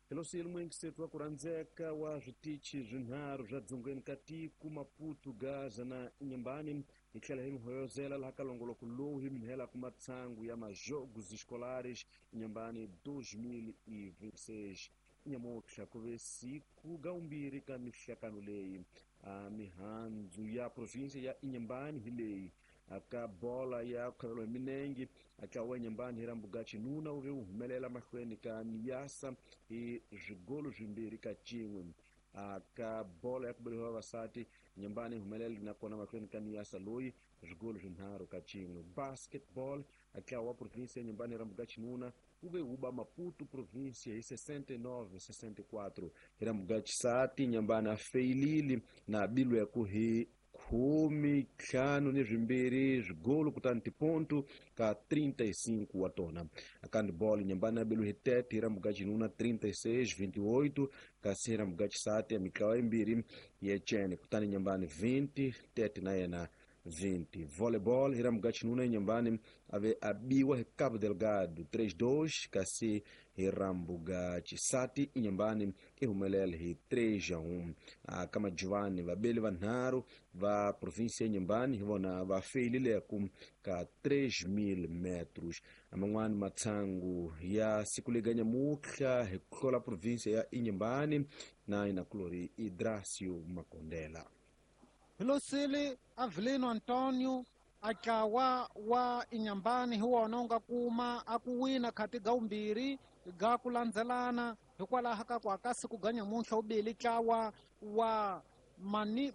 Helosile muingiseto wa ku rhandzeka wa switichi swinharhu swa dzongeni ka tiko Maputo, Gaza na Inhambane. Hi tlhela hi mi hoyozela laha ka longoloko lowu hi mi helaka matsangu ya majogos escolares Inhambane 2026. Nyamutlha ku ve siku gaumbirhi ka mihlakano leyi. Mihandzu ya provinsia ya Inhambane hi leyi. Ka bola ya khavelo hi minengi ntlawa wa Inhambane hi rambuga xinuna wu ve wu humelela mahlweni ka Niassa hi swigolo swimbirhi ka cin'we. Ka bola ya ku beriwa vavasati Inhambane yi humelele nakona mahlweni ka Niassa loyi swigolo swinharhu ka cin'we. Basketball ntlawa wa provinsia ya Inhambane hi rambuga xinuna wu ve wu ba Maputo provinsia hi 69-64. Hi rambuga xisati Inhambane a feyilile na bilweku hi 52 swigolo kutani tiponto ka 35 wa tona. Ka handball Inhambane a beliwe hi 30 hi rambuga xinuna 36-28, kasi hi rambuga xisati ya mitlawa yimbirhi ya cene kutani Inhambane 20 30 na yena 20. Volleyball hi rambuga xinuna Inhambane a ve a biwa hi Cabo Delgado 3-2, kasi hi rambuga xisati Inhambane i humelela hi 3-1. Ka majuvani vabeli vanharhu va provinsia ya Inhambane hi vona va feyilileku ka 3000 metros. Man'wani matshangu ya siku lega nyamutlha hi ku hlola provinsia ya Inhambane na inakulori Idracio Makondela. Hilosile Avelino Antonio atlawa wa Inhambane hi wona wu nga kuma a ku wina khati ga wumbirhi ga ku landzelana hikwalaho ka ku aka siku ga nyamuntlha wu bile ntlawa wa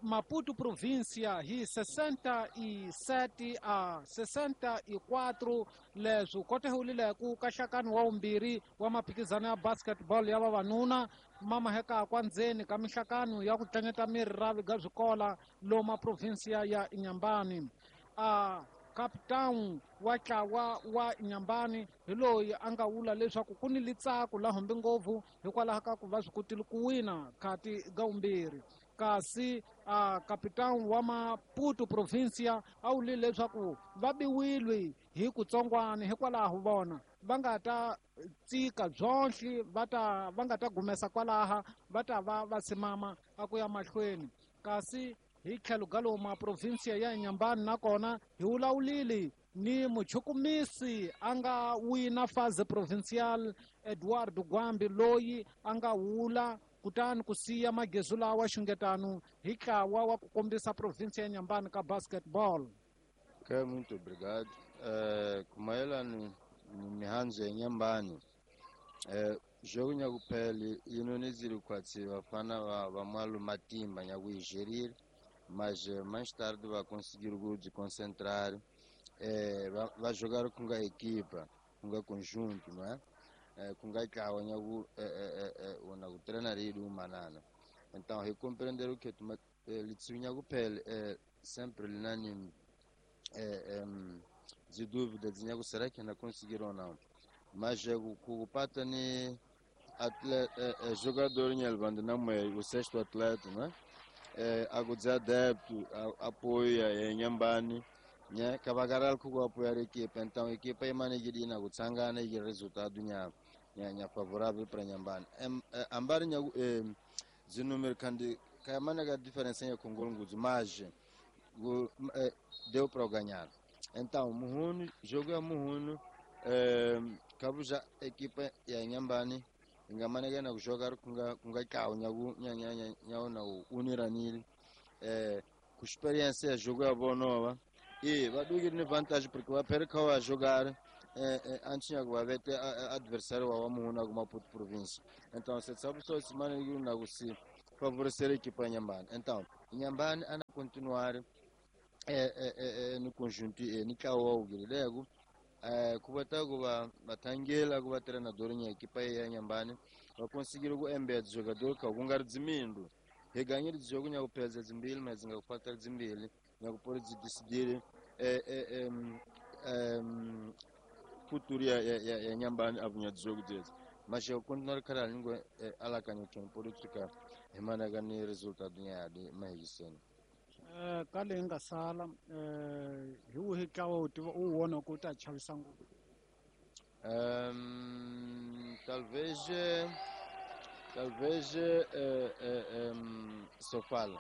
Maputo provincia hi 67 a 64. Leswi kotehulileko ka nhlakano wa wumbirhi wa maphikizano ya basketball ya vavanuna mamahekakwa ndzeni ka mihlakano ya ku tlanyeta miri ra ga swikola loma provinsia ya Inhambane. A captain wa ntlawa wa Inhambane hi loyi a nga vula leswaku ku ni litsako la humbi ngopfu hikwalaho ka ku va swi kotile ku wina khati ga wumbirhi, kasi a captain wa Maputo provincia a wulile leswaku va biwile hi kutsongwana hikwalaho vona va nga ta tsika byonhle va ta va nga ta gumesa kwalaha va ta va va simama a ku ya mahlweni. Kasi hi tlhelo ga lowu ma provinsia ya Inhambane nakona hi vulavulile ni muchukumisi a nga wina fase provincial Eduardo Gwambi loyi a nga wula kutani ku siya magezu lawa xungetano hi ntlawa wa ku kombisa provinsia ya Inhambane ka basketball. Ok, muito obrigado. Kumayelana ni mihandzu ya Inhambane, jogo nyakuphela yinonizile khwatsi vafana va mwalu matimba nyakuyigerir, mas mais tarde va conseguir se concentrar, va jogar com a equipa, com o conjunto, não é? Com a ntlawa nyaku na ku treinar ele umanana. Então, recompreender o que litsu nyakuphela sempre linani de dúvida de nyaku será que ainda conseguiram ou não. Mas kupata ni atleta, jogador nyelvando na o sexto atleta, né? Agudza adepto, apoia Inhambane, né? Kavagaral ku apoiar a equipa. Então a equipa é manegirina kutsangana e resultado nya nya favorável para Inhambane. Ambari nya de número kandi kayamana ga diferença ya Kongolo nguzu, mas deu para ganhar. Então Muhunu, jogo ya Muhunu, kabuja equipa ya Inhambane ingamaneke na kujogar kunga kawo nyaku nya nya na uniranile ku experiência ya jogo ya bonova e vadukire ni vantagem porque va perca wa jogar antes nyaku va vete adversário wa Muhunu ku Maputo província. Então se sabe só se maneke na kusi favorecer a equipa ya Inhambane. Então Inhambane ana continuar no conjunto ni kawo ugilego kuva kuva vatangela kuva treinador nya equipa ya Inhambane va conseguir ku embed jogador ka ku nga ri dzimindu hi ganyile jogo nya kupedza dzimbili mas nga kufatela dzimbili nya kupori dzi decidire futuro ya Inhambane avunya jogo dzedzi mas eu continuar caralho ningo alakanya que pode ficar himanaka ni resultado nya ya mahiseni. Ka leyi nga sala hi wihi ntlawa u tiva u wona ku ta chavisa ngopfu? Talvez Talvez Sofala.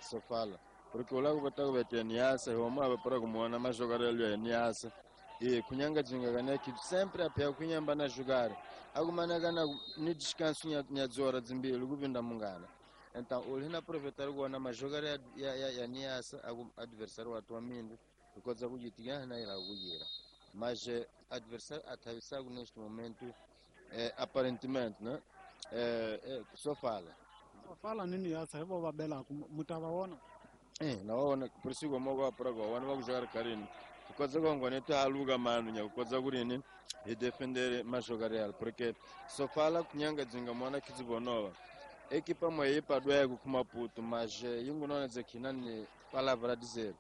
Sofala. Porque o lago botako betia Niassa, o mapa para como ana mais jogar ali é Niassa. E kunyanga jinga gana que sempre a pé kunyamba na jogar. Alguma na gana ni descanso nya zora zimbili kuvinda mungana. Então, o lina aproveitar o ana mais jogar ya Niassa, algum adversário atualmente, because kujitia na ila kujira. Mas adversário atravessado neste momento, aparentemente, né? Sofala. Sofala nini yasa hivyo babela mutawaona. Naona por isso como go para go, wana jogar carinho. Because go neto aluga mano nya kukodza kurini e defender mas jogar real, porque Sofala kunyanga dzinga mwana kizibonova. Equipa moe padwe ku Maputo, mas yingunona zekina ni palavra dizer.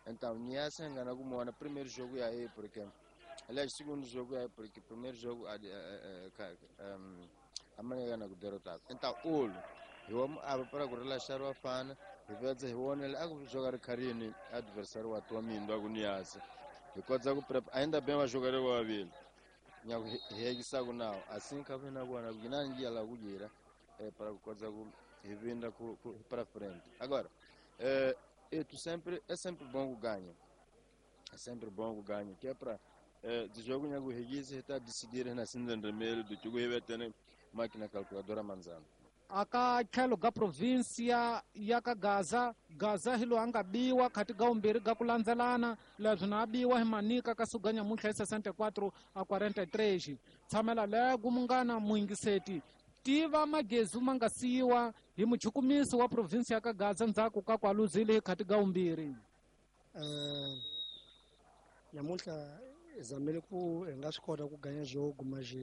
Então, Niassa engana como primeiro jogo aí, porque aliás, segundo jogo é porque primeiro jogo a maneira na derrotado. Então, olho, eu amo para relaxar o afana, e ver se o ele a jogar carinho adversário atualmente do Niassa. E quando ainda bem vai jogar o Abil. Nya regisago não, assim que vem agora, ginangi ela gugira para coisa e vinda para frente. Agora, é sempre bom o ganho. É sempre bom o ganho, que é para de jogo nyago regise está decidir na cinza vermelho do que vai ter máquina calculadora manzana. Aka tlhelo ga província ya ka Gaza, Gaza hi loyi a nga biwa khati ga vumbirhi ga ku landzelana leswi na biwa hi Manika ka suka nyamuntlha hi 64 a 43. Tshamela lego munghana muyingiseti tiva magezi ma nga siyiwa hi muchukumisi wa província ya ka Gaza ndzhaku ka ku aluzile hi khati ga vumbirhi. Nyamuntlha hi zamile ku hi nga swi kota ku ganya jogo mas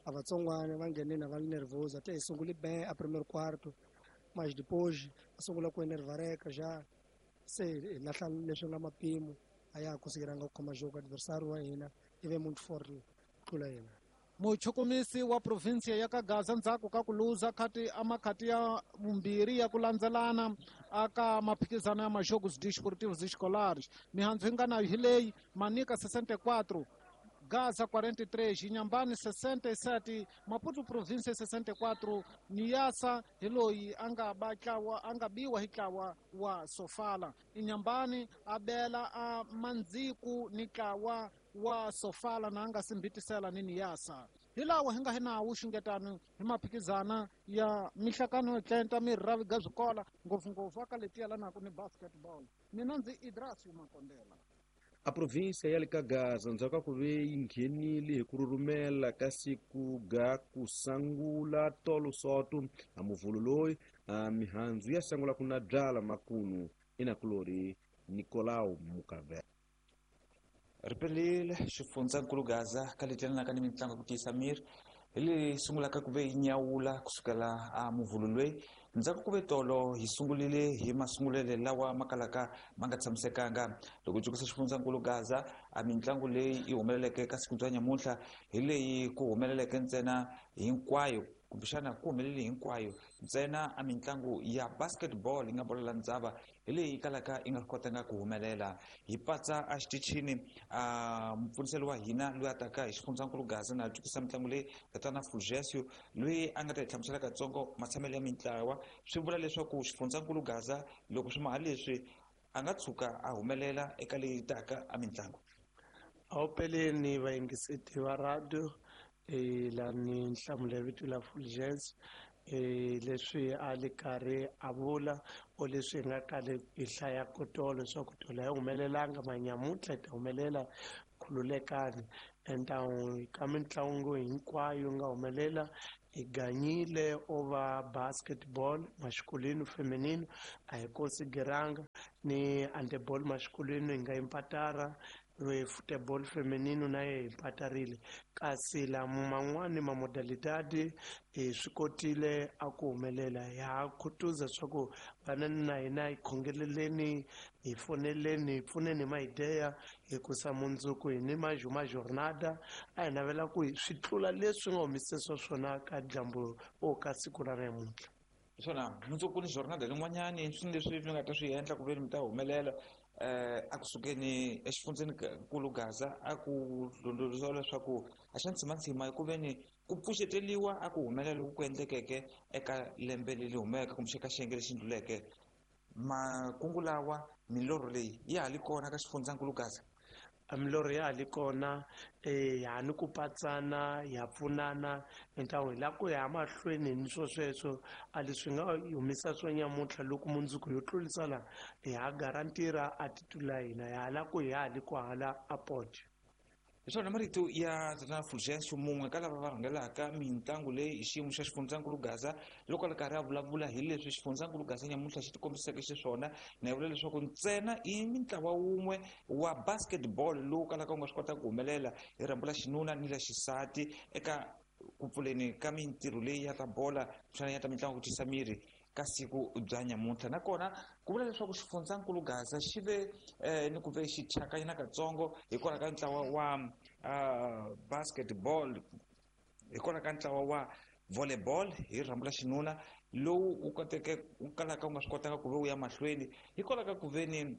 a vatsongwana va nghenile va li nervoso até hi sungule bem a primeiro quarto, mas depois va sungula ku enervareka já se hi lahla leswi nga mapimo a ya ha konsekeranga ku khoma jogo adversário wa hina i ve muito forte ku tlula hina. Muchukumisi wa província ya ka Gaza ndzhaku ka ku luza khati a makhati ya vumbirhi ya ku landzelana aka maphikizano ya majogos desportivos escolares. Mihandzu yi nga nayo hi leyi: Manika 64, Gaza 43, Inhambane 67, Maputo província 64, Niassa hi loyi a nga ba tlawa a nga biwa hi tlawa wa Sofala. Inhambane a bela a Mandziku ni tlawa wa Sofala na nga simbitisela ni Niassa. Hi lawa hi nga hi nawu xungetano hi maphikizana ya mihlakano yo tlenta mirhavi ga swikola ngopfungopfu aka leti yelanaka ni basketball. Mina ndzi Idrasi Makondela. A província ya le ka Gaza ndzhaku ka ku ve yi nghenile hi ku rhurhumela ka siku ga ku sangula tolo soto a muvhulu loyi a mihandzu ya sangula ku na byala makunu inakulori Nicolau Mukavela. Ripelile xifundzankulu Gaza ka leti yelanaka ni mitlangu ku tiyisa miri hi leyi sungulaka ku ve yi nyawula kusukela a muvhulu loyi ndzhaku ku ve tolo hi sungulile hi masungulele lawa ma kalaka ma nga tshamisekanga. Loko jukisa xifundzankulu Gaza a mitlangu leyi yi humeleleke ka siku bya nyamuntlha hi leyi ku humeleleke ntsena hinkwayo kumbexana ku humelele hinkwayo ntsena a mitlangu ya basketball yi nga bolo la ndzava hi leyi kalaka yi nga kotanga ku humelela. Hi patsa a xitichini a mupfuniseli wa hina loyi a taka hi xifundzankulu Gaza na jukisa mitlangu leyi tatana Fulgencio loyi a nga ta hi hlamusela katsongo matshamelo ya mintlawa. Swi vula leswaku xifundzankulu Gaza loko swi maha leswi a nga tshuka a humelela eka leyi taka a mitlangu. Awupeleni vayingiseti va radio lani nhlamulo ya vito la Fulgencio leswi a li karhi a vula o leswi hi nga kale hi hlayaka tolo swa ku tolo a yi humelelanga manyamuntlha yi ta humelela khululekani. Então ka mitlangu hinkwayo nga humelela hi ganyile over basketball masculino feminino a hi konsideranga ni handeball masculino hi nga impatara futebol feminino na ye impatarile kasi lama man'wani ma modalidade hi swi kotile a ku humelela. Ha khutuza swa ku vanani na hina hi khongeleleni hi foneleni hi pfuneni hi maideya hikusa mundzuku hi ni majuma jornada a hi navela ku swi tlula leswi nga humisisa swona ka dyambu o ka siku ra namuntlha. Swona mundzuku ni jornada lin'wanyani swi leswi mi nga ta swi endla ku ve mi ta humelela a kusukeni exifundzeni nkulu Gaza a ku londoloza leswaku a xa ntsimantsima hi ku ve ni Ku pfuxeteliwa a ku humelela loku ku endlekeke eka lembe leri humeke kumbe eka xiyenge lexi ndluleke. Makungu lawa, milorho leyi ya ha li kona ka xifundzankulu Gaza? Milorho ya ha li kona, ha ni ku patsana, ya pfunana hintawo hi lava ku ya mahlweni ni swo sweswo. A leswi nga humisa swo nyamuntlha loko mundzuku yo tlurisa la hi ha garantira a titula hina ya hala ku hi ha li ku hala a podio. Hi swona marito ya tatana Fulgencio, mun'we ka lava va rhangelaka mitlangu leyi hi xiyimo xa xifundzankulu Gaza, loko a ri karhi a vulavula hi leswi xifundzankulu Gaza nyamuntlha xi tikombiseke xiswona. Na yi vula leswaku ntsena i mintlawa wun'we wa basketball lowu kalaka wu nga swi kota ku humelela hi rhambu la xinuna ni la xisati eka ku pfuleni ka mintirho leyi ya ta bola kumbexana ya ta mitlangu ku tisa miri ka siku bya nyamuntlha. Nakona ku vula leswaku xifundzankulu Gaza xi ve ni ku ve xi thyakanyana katsongo hikwalaho ka ntlawa wa basketball, hikwalaho ka ntlawa wa volleyball hi rhambu la xinuna lowu wu koteke wu kalaka wu nga swi kotanga ku ve wu ya mahlweni hikwalaho ka ku ve ni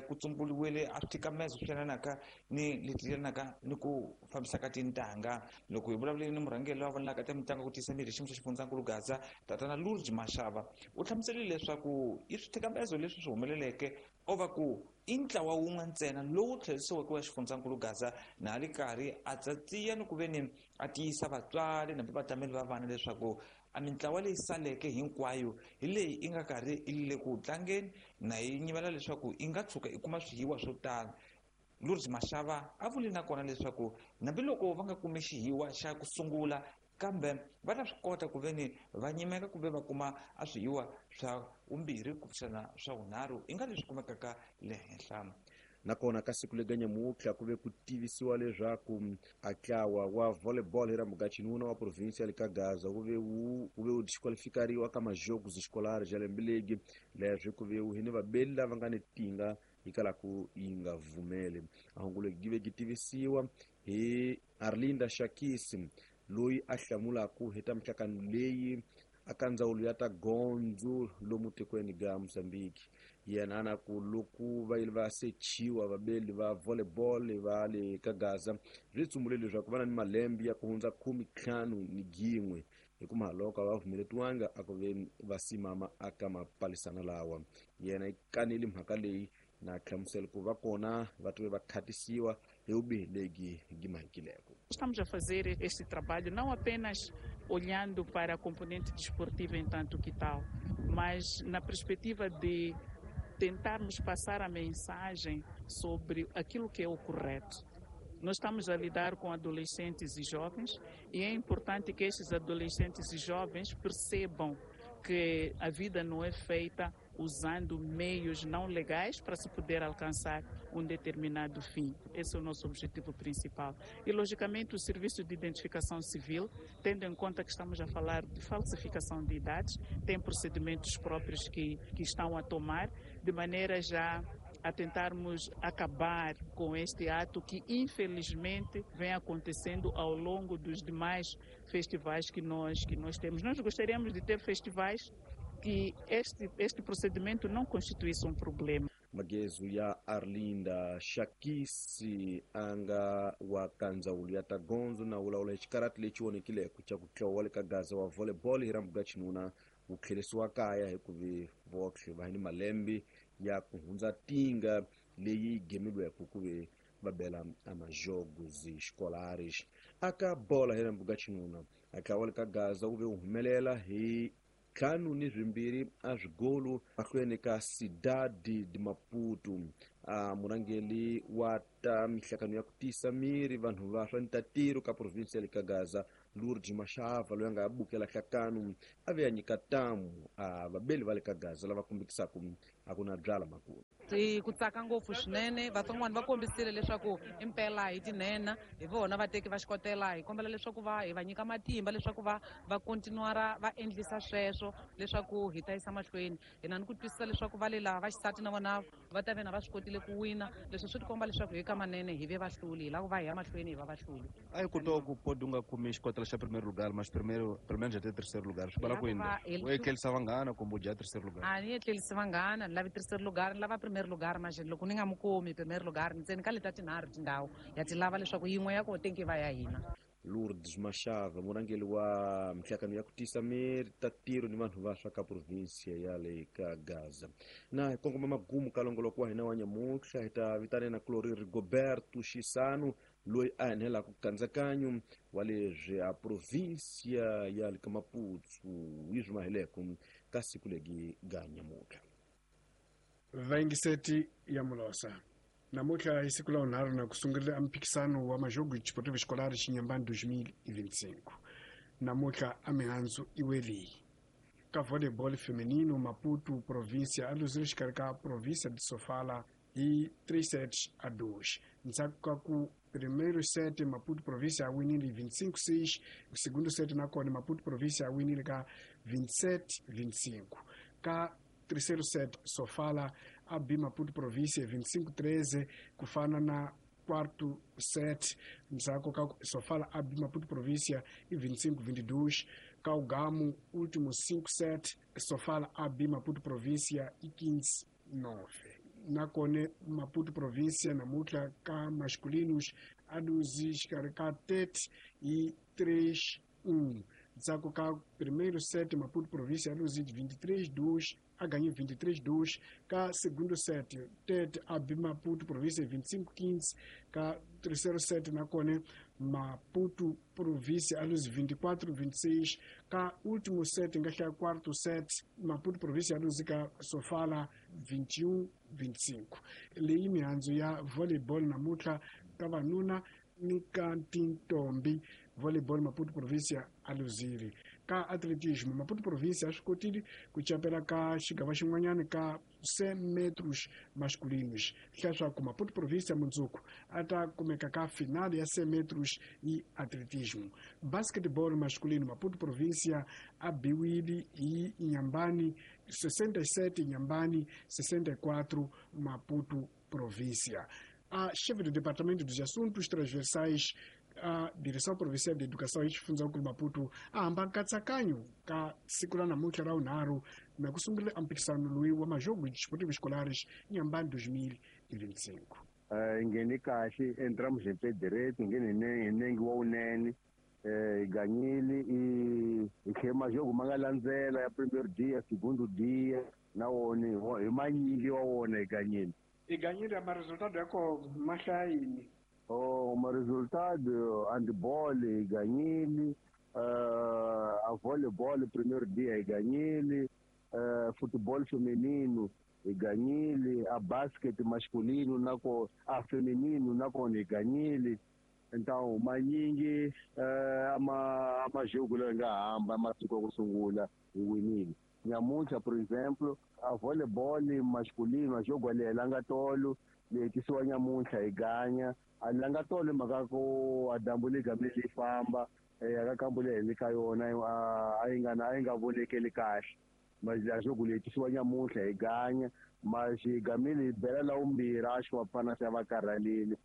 ku tsumbuliwile a swithikamezo swi yelanaka ni leti yelanaka ni ku fambisa ka tintangha. Loko hi vulavuleni ni murhangeri loyi a vonelaka ta mitlangu ku tiyisa miri xiyimo xa xifundzankulu Gaza, tatana Lourdes Mashava, u hlamuserile leswaku i swithikamezo leswi swi humeleleke o va ku i ntlawa wun'we ntsena lowu tlherisiweke wa xifundzankulu Gaza, na a ri karhi a tsatsiya ni ku ve ni a tiyisa vatswari na vatameli va vana leswaku a mintlawa leyi saleke hinkwayo hi leyi i nga karhi i le ku tlangeni na yi nyimela leswaku i nga tshuka i kuma swihiwa swo tala. Lourdes Mashava a vuli nakona leswaku hambiloko va nga kumi xihiwa xa ku sungula, kambe va ta swi kota ku ve ni va nyimeka kumbe va kuma a swihiwa swa vumbirhi kumbexana swa vunharhu i nga leswi kumekaka le henhla. Nakona ka siku lega nyamuntlha ku ve ku tivisiwa leswaku a ntlawa wa volleyball hi rambuga xinuna wa province ya le ka Gaza wu ve wu disqualifikariwa ka majogos escolares ya lembe legi. Leswi ku ve wu hi ni vabeli lava nga ni tinga yi kalaku yi nga vumeli. A hungu legi gi ve gi tivisiwa hi Arlinda Shakisi, loyi a hlamulaku hi ta mihlakano leyi aka ndzawulo ya ta gondzo lomu tikweni ga Mozambique. Yena ana ku loko va yile va sechiwa vabeli va volleyball va le ka Gaza, swi tsumbule leswaku va na ni malembe ya ku hundza 51, hikuva loko a va pfumeletiwanga a ku ve va simama aka mapalisana lawa. Yena yi kanele mhaka leyi na hlamusela ku va kona va tive va khatisiwa hi vubihi lebyi byi mahikileko. Estamos a fazer este trabalho não apenas olhando para a componente desportiva em tanto que tal, mas na perspectiva de tentarmos passar a mensagem sobre aquilo que é o correto. Nós estamos a lidar com adolescentes e jovens e é importante que estes adolescentes e jovens percebam que a vida não é feita usando meios não legais para se poder alcançar um determinado fim. Esse é o nosso objetivo principal. E, logicamente, o Serviço de Identificação Civil, tendo em conta que estamos a falar de falsificação de idades, tem procedimentos próprios que estão a tomar, de maneira já a tentarmos acabar com este ato que, infelizmente, vem acontecendo ao longo dos demais festivais que nós temos. Nós gostaríamos de ter festivais que este procedimento não constituísse um problema. Magezu ya Arlinda Shakisi anga wa kandzawulo ya ta gondzo na wulawula hi xikarati lexi onekileko xa ku tlawa le ka Gaza wa volleyball hi rambuga xinuna wu tlherisiwa kaya hikuva votlhe va ni malembe ya ku hundza tinga leyi gemilweke ku ve va bela amajogos escolares. Aka bola hi rambuga xinuna a tlawa le ka Gaza wu ve wu humelela hi 5-2 a swigolo mahlweni ka Cidade de Maputo. A murhangeri wa ta mihlakano ya ku tiyisa miri vanhu va swa ntatiro ka province ya le ka Gaza, Lourdes Mashava, loyi a nga bukela hlakano a ve a nyika tamu a vabeli va le ka Gaza lava kombekisaka a ku na byala makulu. Ku tsaka ngopfu swinene, vatsongwana va kombisile leswaku impela hi tinhenha, hi vona vateki va xikotela. Hi kombela leswaku va hi va nyika matimba leswaku va continuara va endlisa sweswo leswaku hi ta yisa mahlweni. Hi na ni ku twisisa leswaku va le laha va xisati na vona va ta ve na va swi kotile ku wina. Leswi swi tikomba leswaku hi ka manene hi ve vahluli, hi lava ku va hi ya mahlweni hi va vahluli. A hi kota ku podi u nga kumi xikotela xa primeiro lugar, mas primeiro pelo menos até terceiro lugar. Swi vula ku yini? U etlerisa vanghana kumbe u dya terceiro lugar? A ni etlerisi vanghana, ni lavi terceiro lugar, ni lava primeiro lugar. Mas loko ni nga mu kumi primeiro lugar, ntsena ka leta tinharhu tindhawu ya ti lava leswaku yin'we ya kona tenki va ya hina. Lourdes Mashava murhangeri wa minhlangano ya ku tisa miri ta tiro ni vanhu va swa ka provinsia ya le ka Gaza. Na hi kongoma magumu ka longoloko wa hina wa nyamuntlha hi ta vitana na Clorir Rigoberto Xisano loyi a enhelaka nkatsakanyo wa leswi a provinsia ya le ka Maputo yi swi maheleko ka siku legi ga nyamuntlha. Vayingiseti ya Mulosa. Namuntlha hi siku la vunharhu na ku sungurile a mphikisano wa majogo Desportivo Escolar Xinyimbani 2025. Namuntlha a mihandzu iweliyi. Ka volleyball feminino Maputo província a luzile xikarhi ka província de Sofala hi 3 sets a 2. Ndzhaku ka ku primeiro set Maputo província a winile 25-6, segundo set nakona Maputo província a winile ka 27-25. Ka terceiro set Sofala a bi Maputo província 25-13 ku fana na quarto set ndzhaku ka Sofala a bi Maputo província i 25-22 ka ugamu último 5 set Sofala a bi Maputo província i 15-9. Nakone Maputo província namuntlha ka masculinos a luzi xikarhi ka 30 i 3-1. Ndzhaku ka primeiro set Maputo província a luzi 23-2 a ganhou 23-2 ka segundo set Tete a bi Maputo província 25-15 ka terceiro set nakone Maputo província a luzi 24-26 ka último set nga hlaya quarto set Maputo província a luzi ka Sofala 21-25. Leyi mihandzu ya volleyball namuntlha ka vanuna ni ka tintombi volleyball Maputo província a luzile. Ka atletismo Maputo província a swi kotile ku capela ka xigava xin'wanyana ka 100 metros masculinos. Leswaku Maputo província mundzuku a ta kumeka ka final ya 100 metros yi atletismo. Basketball masculino Maputo província a biwile hi Nyambani 67 Nyambani 64 Maputo província. A chefe do Departamento dos Assuntos Transversais a Direção Provincial de Educação e Xifundzankulu Maputo a hamba nkatsakanyo ka siku la namuntlha ra vunharhu na ku sungurile a mphikisano loyi wa majogo desportivo escolares Nyambani 2025. Hi nghene kahle entramos hi pé direito, nghene hi nenge wa wunene, hi ganyile hi tlhe majogo ma nga landzela ya primeiro dia, segundo dia na wona hi manyingi wa wona hi ganyile. Hi ganyile ma resultado ya ko ma hlayini. Oh, ma resultado handball hi ganyile, a volleyball primeiro dia hi ganyile, futebol feminino hi ganyile, a basket masculino nako a feminino nakona hi ganyile. Então manyingi ama majogo lawa nga hamba masiku ya ku sungula hi winile. Nyamuntlha por exemplo a volleyball masculino a jogo a langa tolo leyi tisiwa nyamuntlha hi ganya a langa tolo mhaka ku a dyambu li gamile li famba aka kambu leyi hi ka yona a yi nga vonekeli kahle. Mas a jogo leyi tisiwa nyamuntlha hi ganya mas hi gamile hi bela la vumbirhi a xi va pfana se va karhalile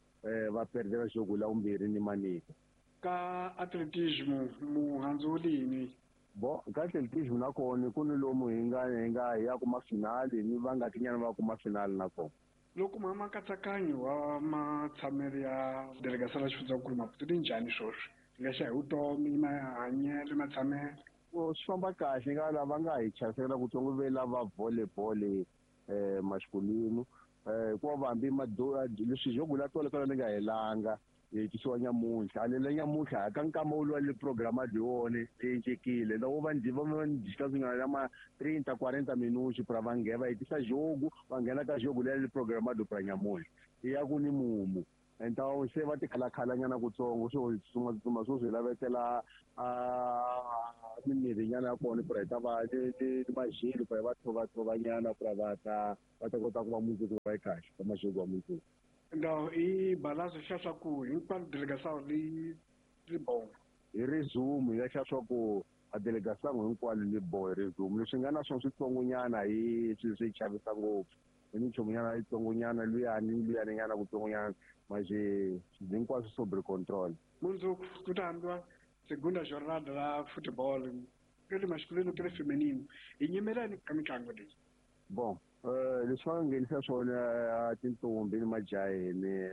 va perdela jogo la vumbirhi ni manika. Ka atletismo muhandzu wu lini? Bo ka atletismo nakona ku ni lomu hi nga hi ya kuma finali ni va nga tinyana va kuma finali nakona. Loko ma nkatsakanyo wa matshamelo ya delegação la xifundzankulu Maputo li njhani swoswi? Hi nga xa hi vutomi, mahanyelo, matshamelo. Swi famba kahle nga lava nga hi chavisela kutsongo ve lava volleyball masculino hikuva vambi leswi jogo la tolo kala ni nga helanga hi tisiwa nyamuntlha a lela nyamuntlha ka nkama wu le programa di wona cincekile loko va va ndzi ya ma 30 40 minutos pra va nghena va hetisa jogo va nghena ka jogo leri programa do pra nyamuntlha ya ku ni mumu. Então se va tikhalakhalanyana kutsongo swo tsutsuma swo swi lavetela mimirhi nyana ya kona pra hi ta va ni majelo pra va tshovatshovanyana pra va ta kota ku va mundzuku va yi kahle ka majogo wa mundzuku. Então i balanço xa swa ku hinkwalo delegação li bon. Hi resume ya xa swa ku a delegação hinkwalo li bon hi resume leswi nga na swona switsongonyana hi swi chavisa ngopfu hi minchumu nyana yitsongonyana luyani nyana kutsongonyana mas hinkwaswo sobre control. Mundzuku ku ta hambiwa segunda jornada la futebol ke le masculino ke le feminino hi nyimelani ka mitlangu leyi. Bon leswi va nga nghenisa swona tintombi ni majaheni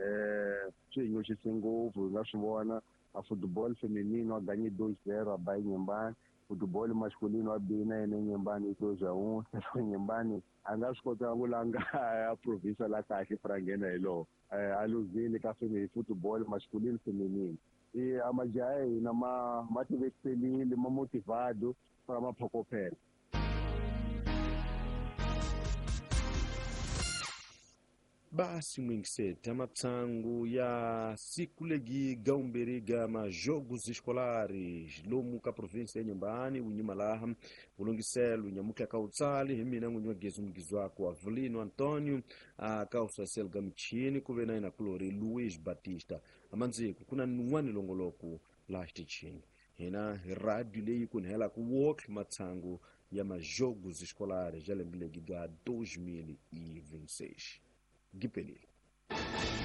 swi hi nyoxise ngopfu hi nga swi vona A futebol feminino a ganhei 2-0 a ba Inhambane. Futebol masculino a bina ene Inhambane 2-1. Inhambane a nga swi kota ku langa a province la kahle pra nghena hi lowo. A luzile ka futebol masculino feminino. E a majaha ya hina ma tivekiselile, ma motivado para maphokophela. Basi mwingisete amatsangu ya siku legi gaumberiga majogos escolares lomu ka província ya Inhambane unyuma laha ulungiselo nyamuka kautsali hi mina n'winyi wa gezi mugizi wako Avelino Antonio akausasel gamichini kuve na ina kulori Luiz Batista amandziko kuna nun'wani longoloko laha xitichini hina hi radio leyi kunhelaku wokhe matsangu ya majogos escolares ya lembe legi ga 2026. Gipelile.